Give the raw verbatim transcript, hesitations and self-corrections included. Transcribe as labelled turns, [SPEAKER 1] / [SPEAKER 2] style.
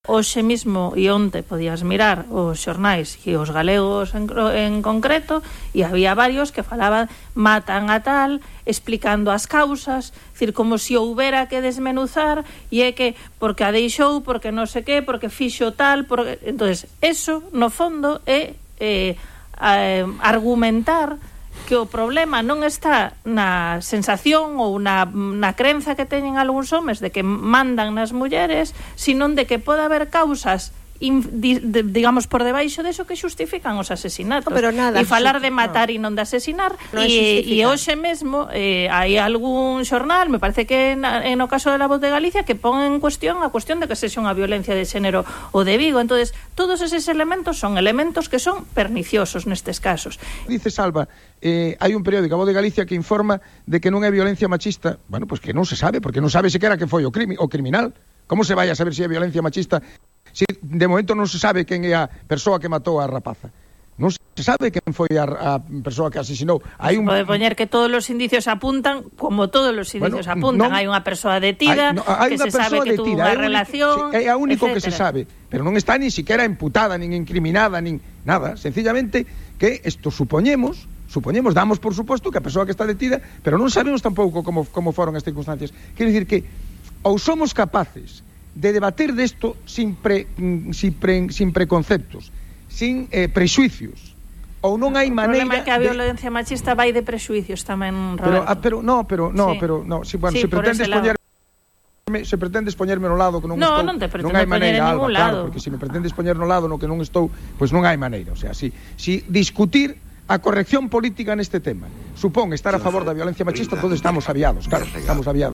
[SPEAKER 1] hoxe mismo e onte podías mirar os xornais e os galegos en, en concreto, e había varios que falaban matan a tal, explicando as causas, decir, como se si houbera que desmenuzar, e é que porque a deixou, porque non sei que, porque fixo tal, porque... entonces eso no fondo é eh, eh, argumentar que o problema non está na sensación ou na, na crenza que teñen algúns homes de que mandan nas mulleres, sino de que pode haber causas in, di, de, digamos por debaixo deso que xustifican os asesinatos.
[SPEAKER 2] No, pero nada,
[SPEAKER 1] e falar de
[SPEAKER 2] no.
[SPEAKER 1] matar e non de asesinar,
[SPEAKER 2] no
[SPEAKER 1] e, e hoxe mesmo eh, hai algún xornal, me parece que na, en o caso de La Voz de Galicia, que pon en cuestión a cuestión de que sexa unha violencia de xénero o de Vigo. Entonces todos eses elementos son elementos que son perniciosos nestes casos.
[SPEAKER 3] Dice Salva, eh, hai un periódico, A Voz de Galicia, que informa de que non é violencia machista. Bueno, pois pues que non se sabe, porque non sabe sequera que foi o, crimi, o criminal. Como se vai a saber se é violencia machista se de momento non se sabe quen é a persoa que matou a rapaza? Non se sabe quen foi a, a persoa que asesinou. Hai un...
[SPEAKER 1] Pode poñer que todos os indicios apuntan, como todos os indicios bueno, apuntan. Non... Hai unha persoa detida, hai, no, hai que se sabe que tuvo unha relación,
[SPEAKER 3] é a único
[SPEAKER 1] etcétera.
[SPEAKER 3] Que se sabe, pero non está ni siquiera imputada, nin incriminada, nin nada. Sencillamente que isto supoñemos, supoñemos, damos por suposto que a persoa que está detida, pero non sabemos tampouco como, como foron as circunstancias. Quero dicir que ou somos capaces de debater desto sin, pre, sin, pre, sin preconceptos, sin eh, prexuicios, ou non hai maneira...
[SPEAKER 1] O problema é que a violencia de... machista vai de prexuicios tamén, Roberto.
[SPEAKER 3] Pero, ah, pero no, pero, no,
[SPEAKER 1] sí.
[SPEAKER 3] pero, no, si, bueno,
[SPEAKER 1] sí,
[SPEAKER 3] se pretendes poñerme, se pretendes poñerme no lado que non
[SPEAKER 1] no,
[SPEAKER 3] estou...
[SPEAKER 1] Non, te
[SPEAKER 3] non hai maneira,
[SPEAKER 1] Alba,
[SPEAKER 3] claro, porque se me pretendes poñer no lado no que non estou, pois pues non hai maneira, o sea, si, si discutir a corrección política neste tema supón estar a favor da violencia machista, todos estamos aviados, claro, estamos aviados.